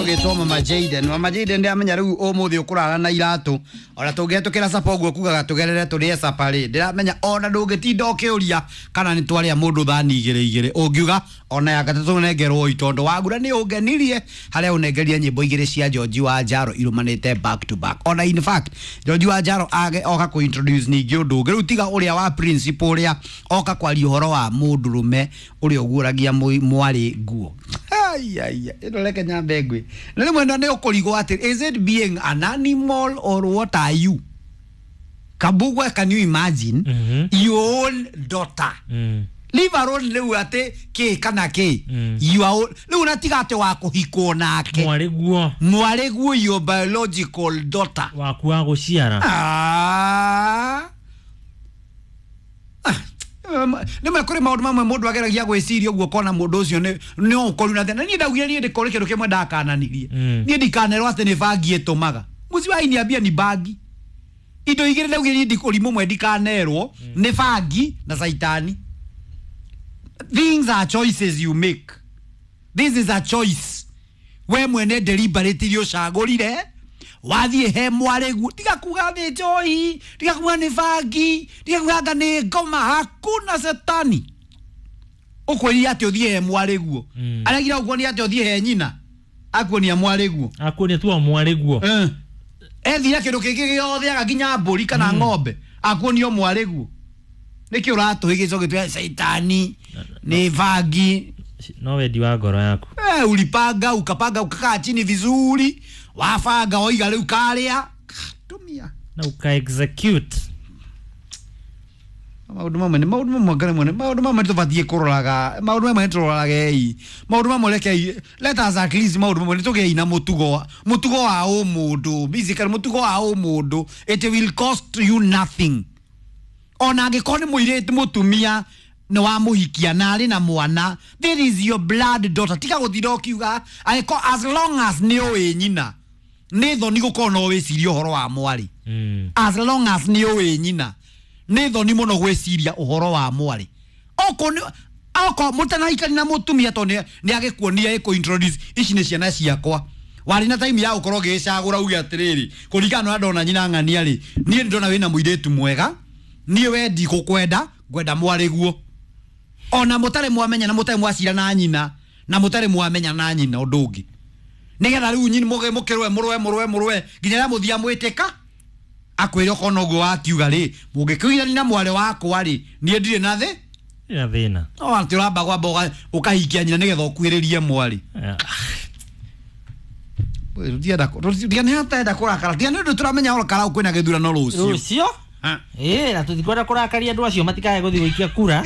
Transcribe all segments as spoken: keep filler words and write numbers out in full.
Ũgĩtwo Mama Jaden. Mama Jaden, ndĩramenya rĩu ũmũthĩ ũkũrara na iratũ. Ona tũngĩhetũkĩra capa ũguo kugaga tũgerere tũrĩe capa rĩ, ndĩramenya ona ndũngĩtinda ũkĩũria kana nĩ twarĩa mũndũ thani igĩrĩ igĩrĩ, ũngiuga ona ya gatatũ nengerwo oi, tondũ wagura nĩ ũngenirie harĩa ũnengeria nyĩmbo igĩrĩ cia George wa Njaro irũmanĩte back to back. Ona in fact George wa Njaro age oka kũ introduce ningĩ ũndũ ũngĩ rĩu tiga ũrĩa wa principle, ũrĩa oka kwaria ũhoro wa mũndũrũme ũrĩa ũguũragia mwarĩ nguo. Ai, ai, ĩno reke nyambe ngwĩ na rĩmwe nĩ ũkũrigwo atĩ is it being an animal or what are you? Kabugwa, can you imagine mm -hmm. your own daughter, Mm. leave alone rĩu atĩ kĩ kana kĩ, Mm. your own rĩu natiga atĩ wa kũhikwo nake, mwarĩ guo, mwarĩ guo, your biological daughter, waku wa gũciara. Ah. Ah, nĩmwe kũrĩ maũndũ mamwe mũndũ ageragia gwĩciria ũguo ũkona mũndũ ũcio nĩ no ũkoru na thĩna. Niĩ ndaugire niĩ ndĩkorĩ kĩndũ kĩmwe ndakananirie. Mm. Niĩ ndikanerwo atĩ nĩ bangi ĩtũmaga mũciĩ ni bangi. Indo igĩrĩ ndaugire niĩ ũrimũ ũmwe ndikanerwo nĩ bangi na caitani. Things are choices you make. This is a choice we mwene deliberately ũcagũrire wathiĩ he mwarĩguo. Tiga kuga nĩ njohi, tiga kuga nĩ bangi, tiga kuga anga nĩ ngoma. Hakuna setani ũkwĩrire atĩ ũthiĩ he mwarĩguo. Mm. Aragira ũkuonia atĩ ũthiĩ he nyina, akuonia mwarĩguo. Akuonia tu o mwarĩ guo. Eh. Ethire kĩndũ kĩngĩ gĩothe aga nginya mbũri kana ng'ombe, akuonio mwarĩguo. Nĩkĩ ũratũhĩgĩca ũgĩtwĩra caitani nĩ bangi? No wendi wa ngoro yaku. Eh, ulipanga, ukapanga, ukakaa chini vizuri, wabanga, waiga rĩu karĩa tumia na uka execute. Maũndũ mamwe nĩ maũndũ mamwe ngare mwene, maũndũ mamwe tũbatiĩ kũroraga, maũndũ mamwe nĩ tũrorage i maũndũ mamwe. Rekei, let us at least maũndũ mamwe nĩ tũgĩi na mũtugo mũtugo wa ũmũndũ, basically mũtugo wa ũmũndũ. It will cost you nothing. Ona angĩkorwo nĩ mũirĩtu, mũtumia nĩ wamũhikia na arĩ na mwana, there is your blood daughter. Tiga gũtinda ũkiuga angĩkorwo, as long as nĩ ũĩ nyina, nĩ thoni gũkorwo no wĩcirie ũhoro wa mwarĩ. Mm. As long as nĩ ũĩ nyina, nĩ thoni mũno gwĩciria ũhoro wa mwarĩ. Okorwo nĩ okorwo mũtanahikania na mũtumia, tondũ nĩ agĩkuonia ĩkũ introduce ici nĩ ciana ciakwa, warĩ na time ya gũkorwo ũgĩcagũra uge atĩrĩrĩ, kũringana na ũrĩa ndona nyina ng'ania rĩ, niĩ nĩ ndona wĩna mũirĩtu mwega, niĩ we ndigũkwenda, ngwenda mwarĩ guo. Ona mũtarĩ mwamenya na mũtarĩ mwacira na nyina na mũtarĩ mwamenya na nyina ũndũ ũngĩ, nĩgetha rĩu nyini mũge mũkĩrũe mũrũe mũrũe mũrũe nginya rĩrĩa mũthia mwĩtĩka akwĩre okorwo noguo wakiuga rĩ, mũngĩkĩũigani na mwarĩ wakwa rĩ, niĩ ndirĩ na thĩ na thĩna. No atĩ ũramba kwamba ũga- ũkahikia nyina nĩgetha ũkuhĩrĩrie mwarĩ. Eh, Tiga nĩ hatenda kũrakara, tiga nĩ ũndũ tũramenya Ol Kalou kwĩna gĩthurano rũciũ. Rũciũ. Ha. Ĩĩ, na tũtikwenda kũrakaria andũ acio matikae gũthiĩ gũikia kura.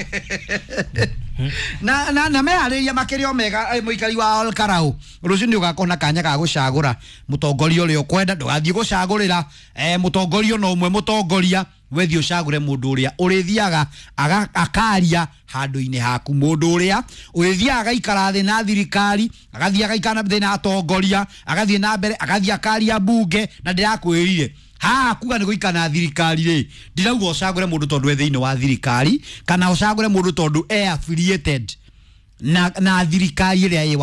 na na na meharĩria makĩria o mega. eh, mũikari wa Ol Kalou, rũciũ nĩ ũgakorwo na kanya ga gũcagũra mũtongoria ũrĩa ũkwenda. Ndũgathiĩ gũcagũrĩra eh, mũtongoria ona ũmwe. Mũtongoria wethiĩ ũcagũre mũndũ ũrĩa ũrĩthiaga aga- akaria handũ-inĩ haku, mũndũ ũrĩa ũrĩthiaga agaikara thĩ na thirikari, agathiĩ agaikara thĩ na atongoria, agathiĩ na mbere, agathiĩ akaria mbunge. Na ndĩrakwĩrire haha kuga nĩ gũikara na thirikari rĩ, ndirauga ũcagũre mũndũ tondũ e thĩinĩ wa thirikari kana ũcagũre mũndũ tondũ e affiliated na, na thirikari ĩrĩa ĩ.